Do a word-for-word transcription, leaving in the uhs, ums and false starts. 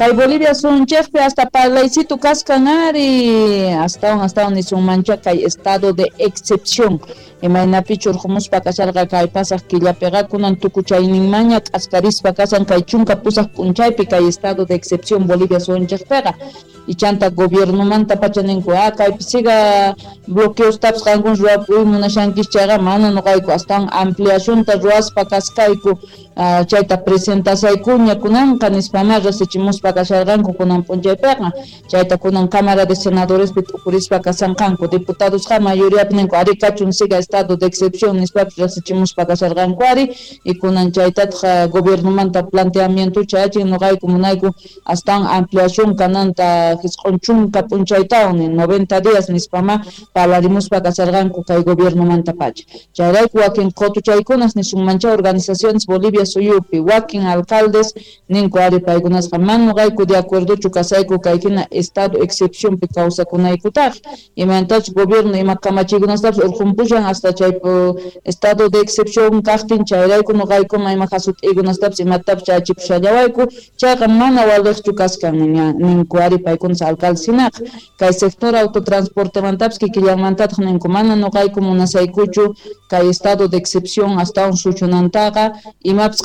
Kay Bolivia sunchejpi hasta parlaycito kaskan ari, astawan astawan nisunmancha kay estado de excepción. Imaynapichu urqumuspa kasharqa kay pasaq killapiqa kunan tukuchayninmanña k'askarispa kasan kay chunka pusaq p'unchaypi kay estado de excepción Bolivia sunchejpiqa. Ichanta gobiernomanta pacha ninku, ah, kaypi siga bloqueostapis qankuna ruwapuy munashankichis chayqa mana nuqayku astawan ampliacionta ruwaspa kaskayku, ah, chayta presentasaykuña kunanqa nispama rasichimuspa kasharqanku kunan p'unchaypiqa. Chayta kunan Cámara de Senadorespi t'ukurispa kasanqanku, diputadosqa mayoriapi ninku ari kachun siga estado de excepción nispapis rasichimuspa kasharqanku ari, y kunan chaytataq gobiernomanta planteamiento chayachin nuqayku munayku astawan ampliación kananta jisq'un chunka p'unchaytawan noventa días nispama parlarimuspa kasharqanku kay gobiernomanta pacha. Chayrayku wakin qutuchaykunas nisunmancha organizaciones Bolivia suyupi wakin alcaldes ninku ari paykunasqa mana nuqayku de acuerdochu kasayku kay hina estado excepcionpi kawsakunaykutaq, imaynatachus gobierno ima kamachiykunastapis urqunpushan hasta chay estado de excepción kaqtin, chayrayku nuqaykuma ima jasut'iykunastapis imatapis chayachipusallawayku, chayqa mana waliqchu kaskan ninku ari paykunas alcaldes hinaqa. Kay sector autotransportemantapis kikillanmantataq ninku mana nuqayku munasaykuchu kay estado de excepción astawan suchunantaqa, imapis